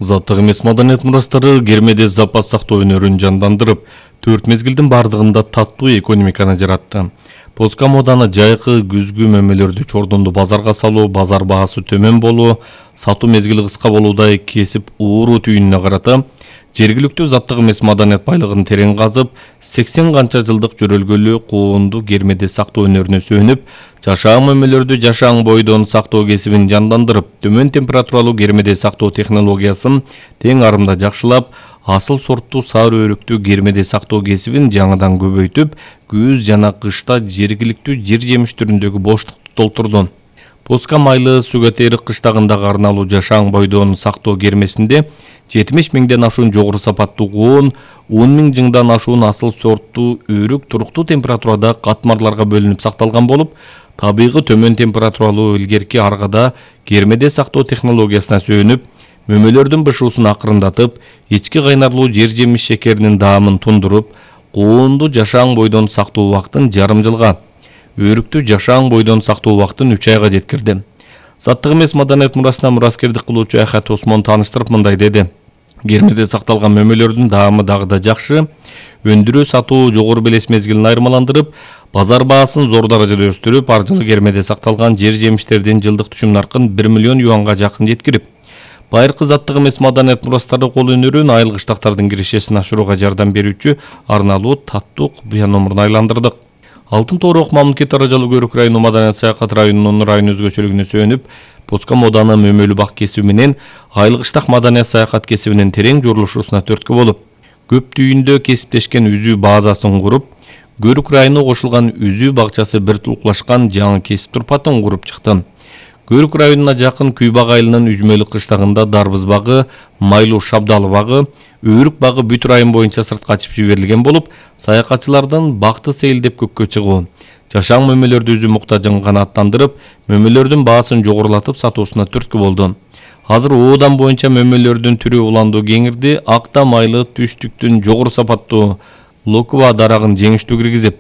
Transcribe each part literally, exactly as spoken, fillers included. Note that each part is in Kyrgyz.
Азаттык эмес маданият мурастары Кермеде запас сактоо өнөрүн жандандырып, төрт мезгилдин бардыгында таттуу экономиканы жаратты. Поска моданы жайкы күзгү мөмөлөрдү чордонду базарга салуу, базар баасы төмөн болуу, сатуу мезгили кыска болуудай кесип ууруу түйүнүнө карата жергиликтүү заттык эмес маданият байлыгын терең казып, сексен канча жылдык жөрөлгөлүү куунду Кермеде сактоо өнөрүнө сүйөнүп, жашаан мөмөлөрдү жашаан бойдон сактоо кесибин жандандырып, төмөн температуралуу Кермеде сактоо технологиясын тең арымда жакшылап, асыл сорттуу саар өрүктүү Кермеде сактоо кесибин жаңыдан көбөйтүп, күз жана кышта жергиликтүү жер жемиш түрүндөгү боштукту толтурду. Поска майлы Сүгөтерик кыштагындагы арналуу жашаан бойдон сактоо кермесинде жетимиш миңден ашуун жогору сапаттуу куун, он миң жыңдан ашуун асыл сорттуу өрүк туруктуу температурада катмарларга бөлүнүп сакталган болуп, табигый төмөн температуралуу илгерки аргада Кермеде сактоо технологиясына сүйөнүп, мөмөлөрдүн бышуусун акырындатып, ички кайнарлуу жер жемиш шекеринин даамын тундуруп, куунду жашаан бойдон сактоо убактын жарым жылга, өрүктү жашаан бойдон сактоо убактын үч айга жеткирди. Заттык эмес маданият мурасына мураскердик кылуучу Ахат Осмон тааныштырып мындай деди. Кермеде сакталган мөмөлөрдүн даамы дагы да жакшы, өндүрүү сатуу жогору белес мезгилин айырмаландырып, базар баасын зор даражада өстүрүп, ар жылы Кермеде сакталган жер жемиштердин жылдык түшүм наркын бир миллион юанга жакын жеткирип, байыркы заттык эмес маданият мурастары кол өнөрүн айыл кыштактардын киришесин ашырууга жардам берүүчү арналуу таттуу купуя номурун айландырдык. Алтын Тоорок мамлекет аралык Өрүк району маданият саякат районунун район өзгөчөлүгүнө сүйөнүп, Поска моданы мөмөлүү бак кесиби менен айыл кыштак маданият саякат кесибинин терең журулушусуна түрткү болуп, көп түйүндө кесиптешкен үзүү базасын куруп, Өрүк району кошулган үзүү бакчасы бир тулуклашкан жаңы кесип турпатын куруп чыкты. Өрүк районуна жакын Күйбак айылынын Үжмөлүк кыштагында Дарбыз багы, Майлуу Шабдалы багы, Өрүк багы бүт район боюнча сыртка ачып жиберилген болуп, саякатчылардын бакты сейилдеп көккө чыгуу, жашаан мөмөлөрдү үзүү муктажын канааттандырып, мөмөлөрдүн баасын жогорулатып сатуусуна түрткү болду. Азыр оодан боюнча мөмөлөрдүн түрү уландуу кеңирди, акта майлы түштүктүн жогору сапаттуу локва дарагын жеңиштүү киргизип,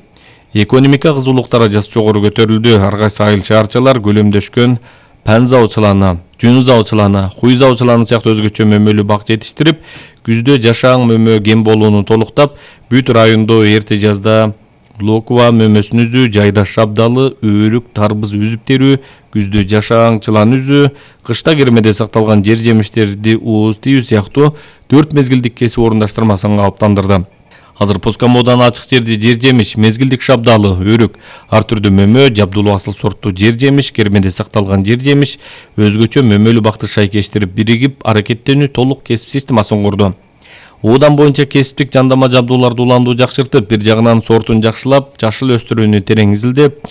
экономика кызуулук даражасы жогору көтөрүлдү. Ар кайсы айыл шаарчалар көлөмдөшкөн панза учуланы, жүнза учуланы, хуйза учуланы сыяктуу өзгөчө мөмөлүү бак жетиштирип, күздө жашаан мөмө кем болууну толуктап, бүт райондо эрте жазда локва мөмөсүн үзүү, жайда шабдалы, өрүк, тарбыз үзүп терүү, күздө жашаан чылан үзүү, кышта Кермеде сакталган жер жемиштерди ууз тийүү сыяктуу төрт мезгилдик кесип орундаштырмасын калыптандырды. Азыр Поска моданы ачык жерди жер жемиш, мезгилдик шабдалы, өрүк, ар түрдүү мөмө, жабдулуу асыл сорттуу жер жемиш, Кермеде сакталган жер жемиш, өзгөчө мөмөлүү бакты шайкештирип биригип, аракеттенүү толук кесип системасын курду. Оодан боюнча кесиптик жандама жабдууларды уландуу жакшыртып, бир жагынан сортун жакшылап, жашыл өстүрүүнү терең изилдеп,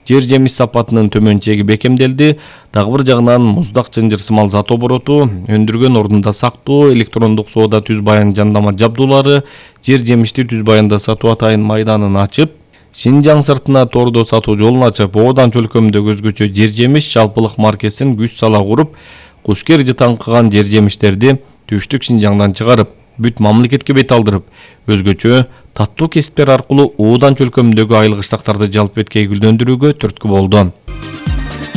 жер жемиш сапатынын төмөн чеги бекемделди. Дагы бир жагынан муздак чынжыр сымал зат обороту, өндүргөн ордунда сактоо, электрондук соода түз баян жандама жабдуулары, жер жемишти түз баянда сатуу атайын майданын ачып, Шинжаң сыртына тордо сатуу жолун ачып, оодан чөлкөмдөгү өзгөчө жер жемиш жалпылык маркесин күч сала куруп, кушкер жытаңкыган жер жемиштерди түштүк Шинжаңдан чыгарып, бүт мамлекетке бет алдырып, өзгөчө таттуу кесиптер аркылуу оодан чөлкөмдөгү айыл кыштактарды жалпы эткей гүлдөндүрүүгө түрткү болду.